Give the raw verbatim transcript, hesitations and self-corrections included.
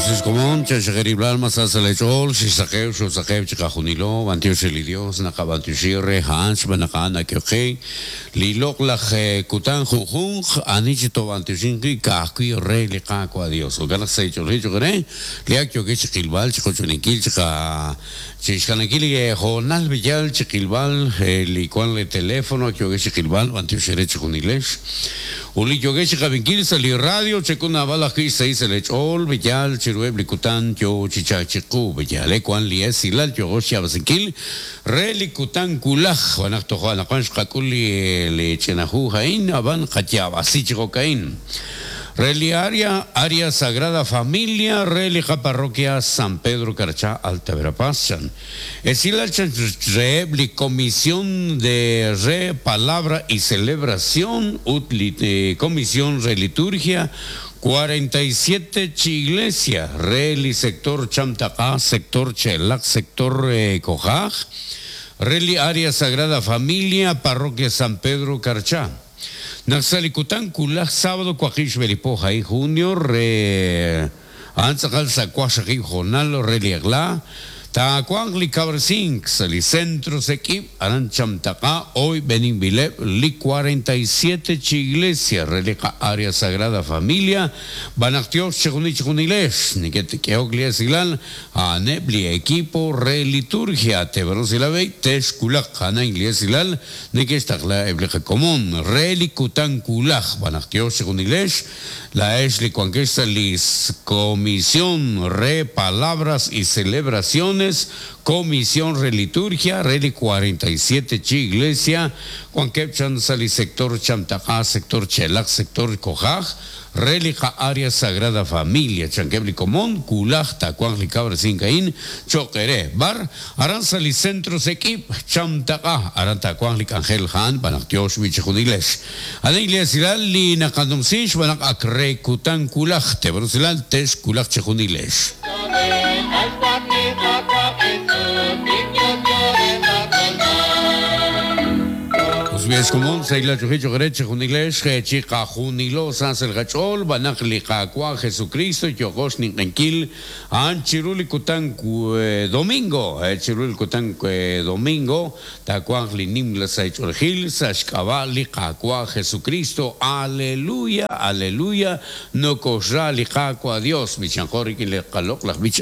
Komon, chaxajerib'lal masasalechool, xisaqew, xusaqew chiqajunilo, bantiox li Dios, naqab'antioxi re ha'an xb'anaqa'an ak'yoqe, li loq'laj kutan junjunq, ani chi tob'antioxinqi ka'ajwi re li Qaawa' Dios. Jo'kan naq saych'olji choqere, li ak yoke chiqilb'al, chiqochoninkil, chiqa chixkanankil li jonal billal chiqilb'al, li kwan li teléfono ak yoke chiqilb'al, b'antioxere chijunilex. Uli yoke chiqabinkil sa li radio, chekun ab'al ajwi' seis elech'ol, billal chirueb li kutan yo chichachiqu, billal kwan li esilal yogo xyabasinkil, re li kutan kulaj, wanaq tojo anaqwan xqak'ul li li ch'inahu ha'in, ab'an qatyab'asi chijokain. Reliaria, Área Sagrada Familia, Relica Parroquia San Pedro Carchá, Alta Verapaz. Esilal chan re Comisión de Re Palabra y Celebración, ut eh, Comisión Re Liturgia, cuarenta y siete chi Iglesia, Reli Sector Chamtacá, Sector Chelac, Sector eh, Cojaj, Reli Área Sagrada Familia, Parroquia San Pedro Carchá. Naxalikutan kulaj sábado cuajish belipoja y junio re antzakal sacuaxaji jonal reliagla ta li cabrsink li centro sequip aran chamtaca hoy benin bileb li cuarenta y siete chi iglesia relica Área Sagrada Familia banactios chejuni chejunilesh niket keok li esilal aneb li equipo re liturgia tebrosilavei tesh kulak ana iglesilal nikestakla eblica común re likutan kulaj banactios chejunilesh la es li cuanquesta lis comisión re palabras y celebraciones Comisión Reliturgia, Reli cuarenta y siete Chi Iglesia, Juan Kepchan Sali Sector Chamtacá, Sector Chelac, Sector Cojaj, Relica Área Sagrada Familia, Chanquebli Común, Kulaj, Tacuan, Licabra, Sincaín, Choqueré, Bar, Aranzali Centro Sequip, Chamtacá, Aran Tacuan, Licangel Han, Banactiosh, Michejuniles. Ana Iglesia, Lina Candomsish, Banac Acre, Kutan, Kulaj, Tebrusilal, Tesh, Kulaj, Chejuniles. Es común, seis chujicho greche, juniglesh, chica junilo, sansel gachol, banak liqaqua, Jesucristo, yogosh ninquil, an chiruli kutan domingo, chiruli kutan domingo, tacuan linim la saicholgil, sashkaba liqaqua, Jesucristo, aleluya, aleluya, no kosra liqaqua Dios, michanjori le qalok, la bich